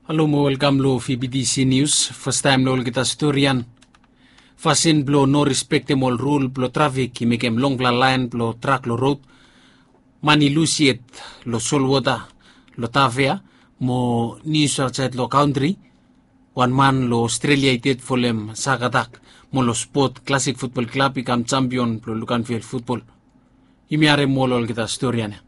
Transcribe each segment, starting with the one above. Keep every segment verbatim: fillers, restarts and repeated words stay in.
Halo mo welkam long V B T C News. Fastaem long olgeta storian. Fasin blong no respektem ol rul blong trafik i mekem longfala laen blong trak long rod. Man i lus yet long solwota long Tafea mo nius aotsaed long kantri. Wan man long Australia i ded folem sak atak mo long spot Classic Football Club i kam jampion blong Luganville futbol. Yumi harem ol olgeta storian ya.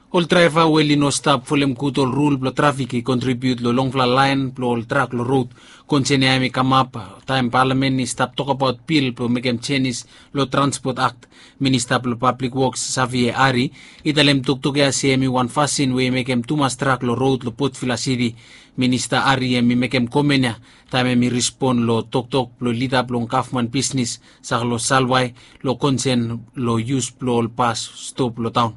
Ol draeva we oli no stap folem gud ol rul blong trafik i kontribiut long longfala laen blong ol trak long rod. Konsen ya hem i kamap taem palamen i stap tokbaot bil blong mekem jenis long Transport Act. Minista blong Pablik Woks Savie Ari i talem toktok ya se hem i wan fasin we i mekem tumas trak long rod long Potvila Siti. Minista Ari hem i mekem komen ya taem hem i rispon long toktok blong lida blong gavman bisnis Saklo Salwai long konsen long yus blong ol bas stop long taon.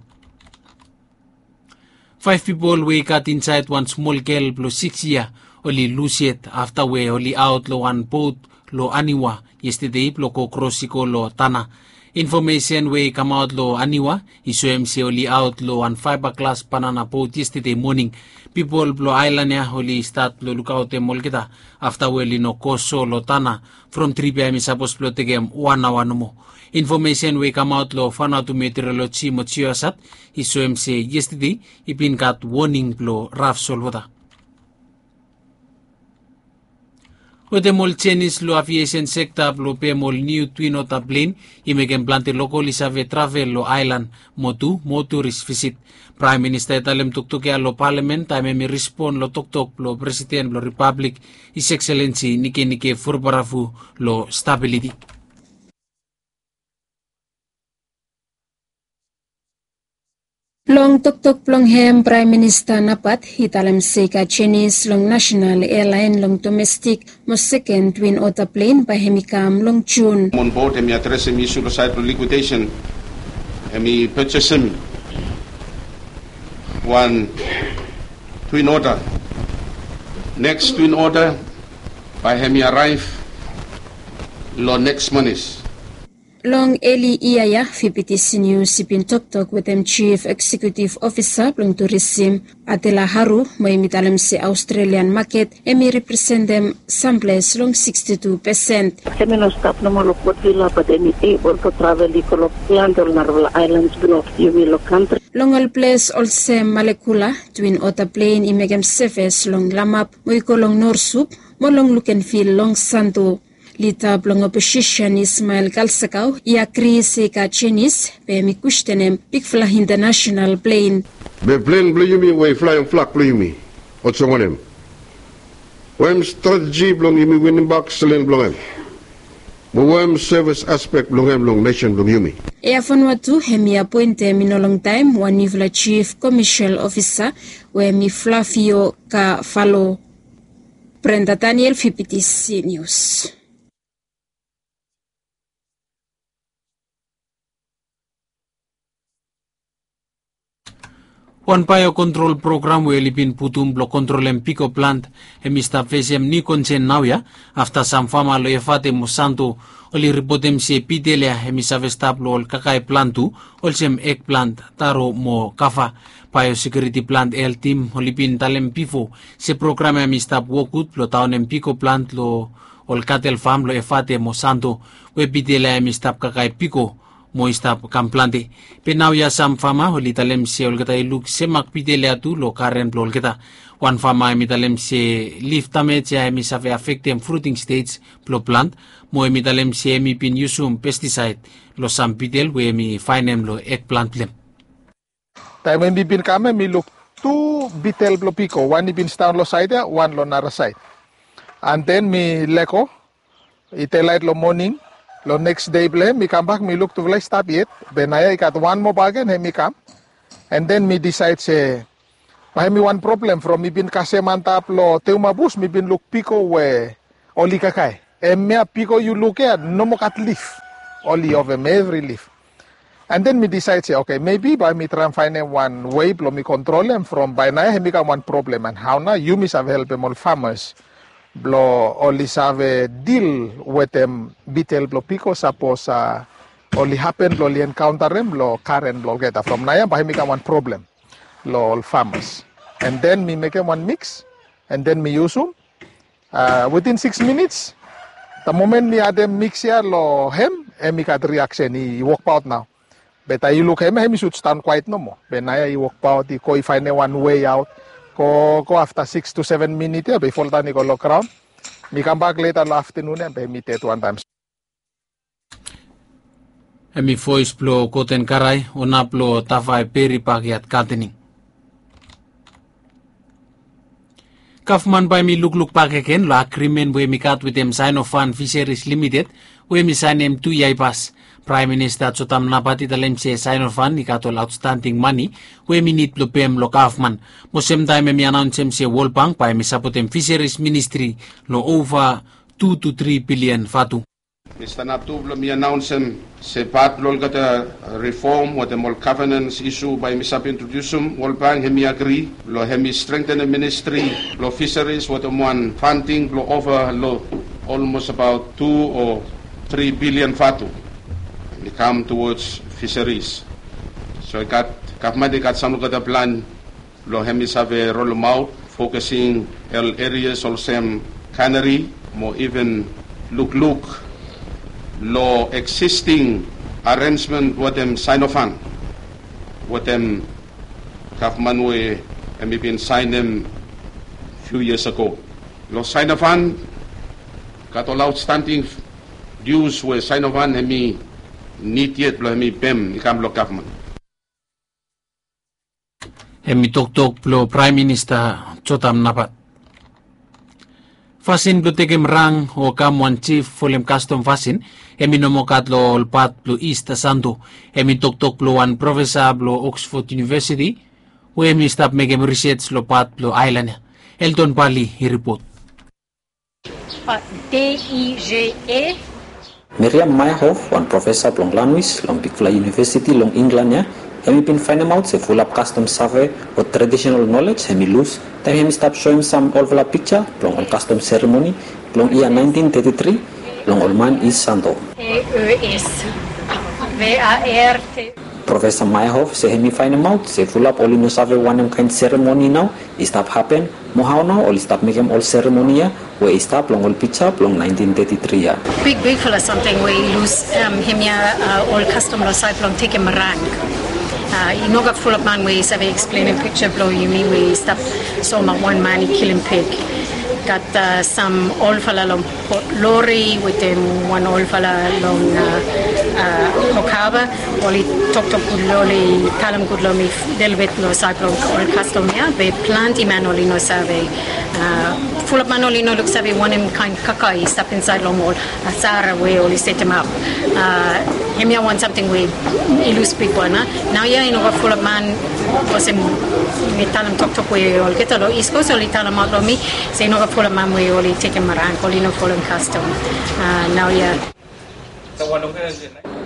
Faef pipol we i gat insaed wan smol gel blong sikis yia oli lus yet afta we oli aot long wan bot long Aniwa yestede blong go kros i go long Tana. Infomesen we i kamaot long Aniwa i soem se oli aot long wan faeba glas banana bot yestede moning. Pipol blong aelan ya oli stat long lukaotem olgeta afta we oli no go so long Tana from trip ya hem i sapos blong tekem wan aoa nomo. Infomesen we i kamaot long Vanuatu Meteorology mo Geosat i soem se yestede i bin gat woning blong raf solwota. Wetem ol jenis long aviesen sekta blong pem ol niu Twin Otter plen i mekem plante lokol i save travel long aelan mo tu mo turis visit. Praem Minista i talem toktok ya long palamen taem hem i rispon long toktok blong Presiden blong Ripablik His Excellency Nikenike Vurobaravu long stabiliti. Long toktok blong hem Praem Minista Napat i talem se i gat jenis long nasenal ealaen long domestik mo seken Twin Otter plen bae hem i kam long Jun. On board hem i adresem isu long saed blong likwidesen. Hem i pejesem wan Twin Otter. Neks Twin Otter bae hem i araev long neks manis. Long eli yia ya V B T C Nius i bin toktok wetem Jif Eksekutif Ofisa blong Turisim Adela Haru mo hem i talem se Aostrelian maket hem i representem samples long siksti tu pesen. Hem i no stap nomo long Port Vila bat hem i ebol blong travel i go long plante ol narafala aelans blong yumi long kantri. Long ol ples olsem Malekula, Twin Otter plen i mekem seves long Lamap mo i go long Norsup mo long Lukenvil long Santo. Lida blong oposisen Ismael Kalsakau i agri se i gat jenis be hem i kwestenem bigfala intanasenal plen. Be plen blong yumi we i flaem flag blong yumi olsem wanem? Wanem strateji blong yumi winimbak selen blong hem? Mo wanem sevis aspek blong hem long nesen blong yumi? Eafon Watu hem i apoentem i no longtaem wan niufala jif komesel ofisa we hem i Flavio Kafalo. Brenda Daniel, V B T C Nius. Wan baeokontrol program we oli bin putum blong kontrolem piko plant hem i stap fesem niu konsen naoia afta sam fama long Efate mo Santo oli ripotem se bitel ya hem i save stap long ol kakae plant tu olsem ek plant, taro mo kava. Baeosekiuriti plant heltim oli bin talem bifo se program ya hem i stap wok gud blong daonem piko plant long ol katel fam long Efate mo Santo we bitel ya hem i stap kakae piko mo i stap kam plante. Be naoia sam fama oli talem se olgeta i luk semak bitel ya tu long garen blong olgeta. Wan fama hem i talem se lif damej ya hem i save afektem fruting stej blong plant mo hem i talem se hem i bin yusum pestisaed long sam bitel we hem i faenem long ekplant blong hem. Taem we mi bin kam ya mi luk tu bitel blong piko, wan i bin sidaon long saed ya, wan long nara saed. An den mi lego i delaet long moning long neks dei blong hem mi kambak mi luk tufala i stap yet. Be naoia i gat wan moa bakegen hem i kam. An den mi disaed se bae hem i wan problem from mi bin kasem antap long Teuma bus mi bin luk piko we oli kakae. Hemia piko yu luk ya no moa gat lif. Oli ovem evri lif. An den mi disaed se oke, mebi bae mi traem faenem wan wei blong mi kontrolem from bae naoia hem i kam wan problem. An hao nao yumi save helpem ol famas blong oli save dil wetem bitel blong piko sapos a oli hapen blong oli enkaontarem long garen blong olgeta. From naoia bae hem i kam wan problem long ol famas. And then mi mekem wan mix, and then mi yusum. Within six minutes, the moment mi adem mix ya lo hem, hemi gat reaction, i wokbaot nao. Be taem yu luk hem, hemi sud stanbaot nomo. Be naoia i wokbaot, i go, i faenem wan way out. Go go afta six to seven minit ya be i foldaon i go lo graon. Mi kambak leta lo aftenun ya be hemi ded wantaem. Hemi voes blo Gordon Karai, ona blo Tafai Peri Backyard Gardening. Gavman bae hemi lukluk bak agen lo agrimen we hemi gat wetem Sinofan Fisheries Limited we hemi saenem tu yia i pas. Praem Minista Jotam Napat i talem se Sinofan i gat ol aotstanding mane we hemi nid blo pem lo gavman. Mo semtaem hemi anaonsem se World Bank bae hemi sapotem Fisheries Ministri lo ova tu tu tri bilian vatu. Mi stanap tu blo mi anaonsem se pat blo olgeta rifom wetem ol gavenans isu bae mi save introdiusum, World Bank hemi agri blo hemi strengtenem ministri blo fisaris wetem wan fanding blo ova lo olmos abaot tu o tri bilian vatu. Hemi kam towards fisaris. So i gat, gavman i gat sam olgeta plan lo hemi save rolemaot, focusing ol areas olsem cannery mo even lukluk lo existing arrangement wetem Sinofan, wetem gavman we hemi bin saenem few years ago. Lo Sinofan gat ol outstanding dues we Sinofan hemi nid yet blo hemi pem i kam lo gavman. Hemi toktok blo Praem Minista Jotam Napat. Fasin blo tekem rang o kam wan jif folem kastom fasin, hemi no moa gat lo ol pat blo East Santo. Hemi toktok blo wan profesa blo Oxford University we hemi stap mekem risej lo pat blo aelan ya. Elton Bali i ripot. Miriam Meyerhoff, wan profesa blong lanwis long bigfala yunivesiti long Inglan ya, hemi bin faenemaot se fulap kastom save o tradisonal nolej hemi lus taem hemi stap soem sam olfala pikja blong ol kastom seremoni blong yia naentin teti tri long ol man East Santo. Profesa Meyerhoff se hemi faenemaot se fulap oli no save wanem kaen seremoni nao i stap hapen, mo hao nao oli stap mekem ol seremoni ya we i stap long ol pikja blong naentin teti tri ya. Big, bigfala samting we i lus, hemia ol kastom long saed blong tekem rang. I no gat fulap man we i save eksplenem pikja blong yumi we i stap soemaot wan man i kilim pig. Gat sam olfala long Port Lori wetem wan olfala long Hokaba. Oli toktok gud, oli talem gud long mi lelebet long saed blong ol kastom ya. Be plante man oli no save. Fulap man oli no luksave wanem kaen kaka i stap insaed long ol asara we oli setemap. Hemia wan samting we i lus bigwan. Naoia i no gat fulap man, olsem mi talem toktok we olgeta long East Coast oli talemaot long mi se i no gat fulap man we oli tekem rang, oli no folem kastom. Naoia.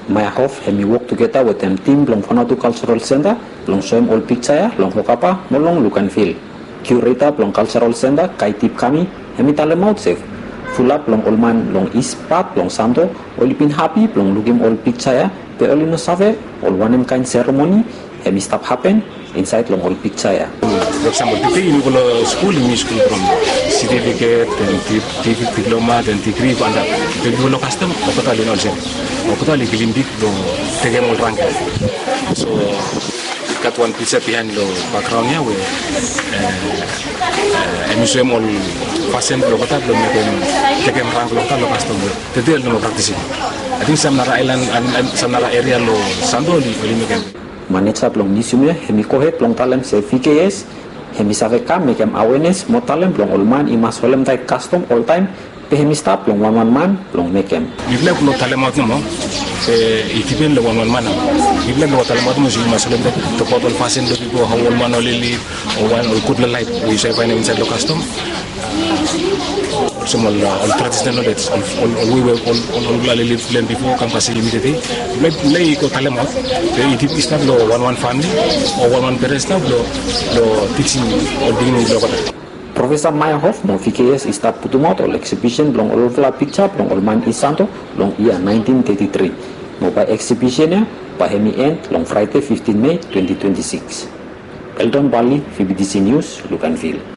Meyerhoff hemi wok tugeta wetem tim blong Vanuatu Cultural Centre blong soem ol pikja ya long Hokaba mo long Luganville. Kiureta blong Cultural Centre, Kaitip Kami, hemi talemaot se fulap long ol man long East pat blong Santo oli bin hapi blong lukim ol pikja ya, be oli no save ol wanem kaen seremoni hemi stap hapen insaed long ol pikja ya. For example, tede yumi go long skul, yumi skul from certificate, then di-, di-, diploma, then degree go antap. Be yumi go long kastom, olgeta oli no olsem. Olgeta oli kilim pig blong tekem ol rang ya. So gat wan pikja bihaen long bakgraon ya we hemi soem ol fasin blong olgeta blong mekem, tekem rang blong olgeta long kastom ya. Tede oli no moa praktisim. Ating sam nara aelan, sam nara eria long Santo oli, oli mekem. Maneja blong miusiam ya hemi gohed blong talem se V K S hemi save kam mekem awenes mo talem blong ol man i mas holemtaet kastom oltaem, be hemi stap long wanwan man blong mekem. Mifala i no talemaot nomo se i dipen long wanwan man nao. Mifala i no talemaot nomo se i mas holemtaet, tokbaot ol fasin blong pipol, hao ol man oli lif, o wan ol gudfala laef we yu save faenem insaed long kastom. Olsem ol, ol tradisonal nolej, ol, ol, ol wei we ol, ol, ol oli lif long hem bifo kam kasem yumi tede. Mifala i go talemaot, be i dip, i stap long wanwan famili o wanwan perens nao blong, blong tijim ol pikinini blong olgeta. Profesa Meyerhoff mo V K S i stap putumaot ol eksibisen blong olfala pikja blong ol man East Santo long yia naentin teti tri. Mo bae eksibisen ya bae hemi en long Fraede fiftin Mei twenti twenti sikis. Elton Bali, V B T C News, Luganville.